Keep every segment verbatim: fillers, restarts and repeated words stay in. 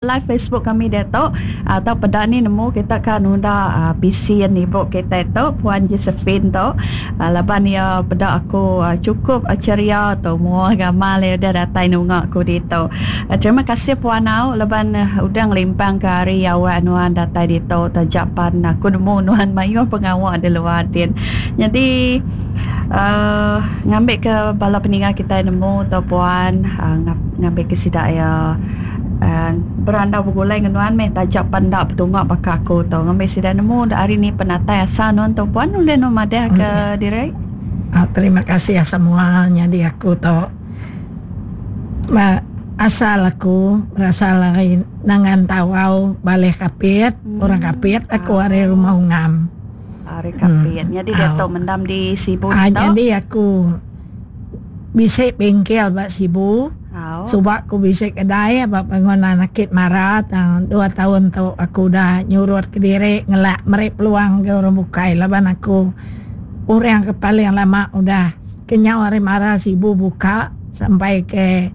Live Facebook kami diatu atau peda ni nemu kita ka nunda pisin ibu kitai tu Puan Josephine tu laban iya peda aku chukup ceria tu mua gamal iya udah datai nunga ku ditu. Terima kasih Puan au laban udah ngelimpang ka hari awak nuan datai ditu taja pan aku nemu nuan mayuh pengawa di luar din. Nyadi uhh ngambi ke bala peninga kitai nemu tu Puan ngambi ke sida iya berandau begulai ngan nuan meh taja pan enda betunga baka aku tu ngambi sida nemu da ari ni penatai asal nuan tu puan ulih nuan madah ke diri. Terima kasih semua nyadi aku tu ba asal aku berasal ari Nangan Tawau Baleh Kapit orang Kapit aku ari Rumah Ungam. Ari Kapit nyadi diatu mendam di Sibu ditu. Nyadi aku bisi bengkel ba Sibu. Suba ku bisi kedai ba bangunan Akit Mara tang dua taun tu aku udah nyurut kediri ngelak meri peluang ngagai orang bukai laban aku orang ke paling lama udah kenyau ari Mara Sibu buka sampai ke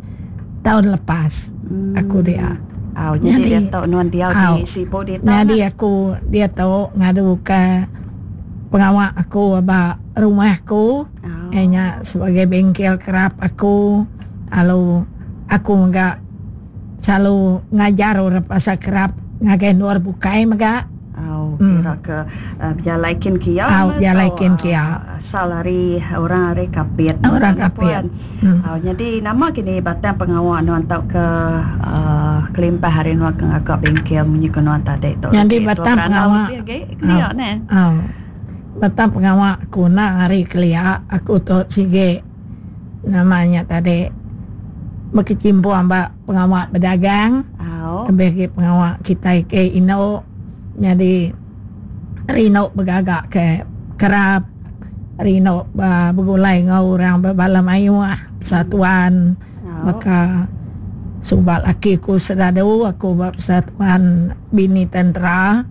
taun lepas aku dia. Nyadi nyadi aku diatu ngadu ka pengawa aku ba rumah aku iya nya sebagai bengkel kerap aku. Lalu aku mega selalu ngajar orang pasal kerap ngagai endur bukai mega. Au kira ke bejalai kin kia Au bejalai kin kia. Asal ari orang ari Kapit. Orang Kapit. Au nyadi nama kini batang pengawa nuan tauka uhh kelimpah ari nuan ke ngaga bengkel munyi ke nuan tadi tu. Nyadi batang pengawa. Kelia neh. Au batang pengawa aku enda ari kelia aku tu sigi. Nama nya tadi bekechimpung ba pengawa bedagang lebih agi pengawa kitai ke indu nyadi rindu begaga ke kerap rindu ba begulai enggau orang bala mayuh persatuan baka suba laki ku sedadu aku ba persatuan bini tentera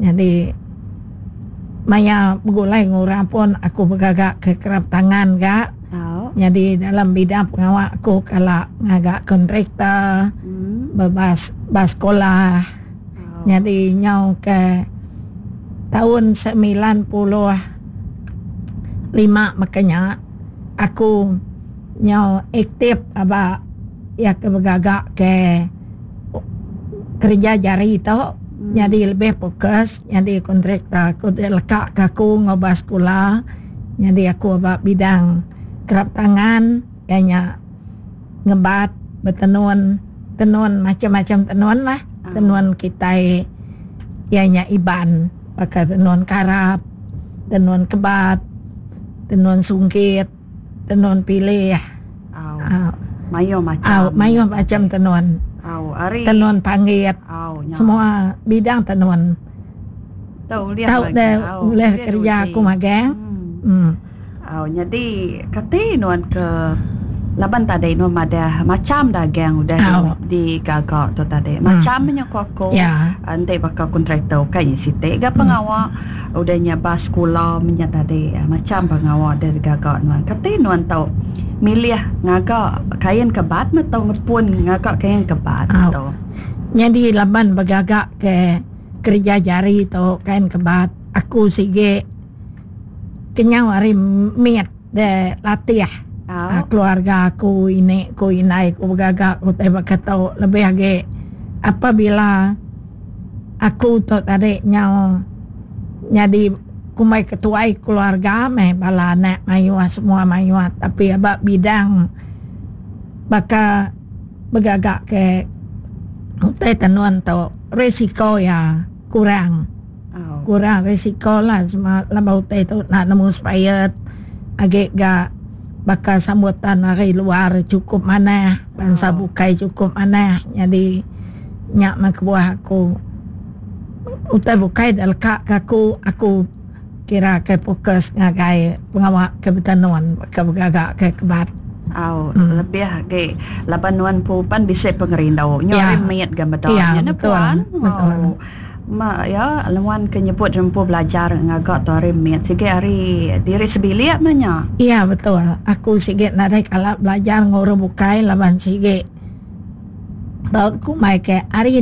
nyadi maya begulai enggau orang pun aku begaga ke kerap tangan ga. Nyadi dalam bidang pengawa aku kala ngaga kontraktor bebas ba sekolah nyadi nyau ke taun semilan puluh lima meka nya aku nyau aktif aba iya ke begaga ke kereja jari tu nyadi lebih fokus nyadi kontraktor aku leka ka aku enggau ba sekula. Nyadi aku ba bidang kerap tangan iya nya ngebat betenun tenun macam-macam tenun lah tenun kitai iya nya Iban baka tenun karap, tenun kebat, tenun sungkit, tenun pilih aaa mayuh macam mayuh macam tenun tenun panggit semua bidang tenun. Tau ulih Tau lagi. deh Au, ulih ulih kereja diuji. aku magang. Hmm. Em. Au, nyadi kati nuan ke laban tadi nuan madah macham dagang udah Au. digaga tu tadi. Em. Macham nya ku aku Ya. enti baka kontraktor ukai nya siti ga Em. pengawa udah nya ba sekula menya tadi macham pengawa udah digaga nuan. Kati nuan tau milih ngaga kain kebat meh tau ngepun ngaga kain kebat Au. tu. Nyadi laban begaga ke kereja jari tu kain kebat aku sigi kenyau ari mit de latih keluarga aku ini ku indai ku begaga ku utai baka tu lebih agi apabila aku tu tadi nyau nyadi kumbai ketuai keluarga meh bala anak mayuh semua mayuh tapi aba bidang baka begaga ke utai tenun tu risiko iya kurang. Kurang risiko lah laban utai tu enda nemu expired agi ga baka sambutan ari luar chukup manah bansa bukai chukup manah nyadi nya meh kebuah aku utai bukai da leka ka aku aku Kira ke fokus ngagai pengawa ke betenun ke begaga ke kebat. Au lebih agi laban nuan empu pan bisi pengerindu nyu Ya. ari mit ga meda Ya, nya neh betul. puan. Betul. Au ma iya nuan ke nyebut empu belajar ngaga tu ari mit sigi ari diri sebilik meh nya. Ya betul. Aku sigi nadai kala belajar enggau orang bukai laban sigi Tau kumbai ke hari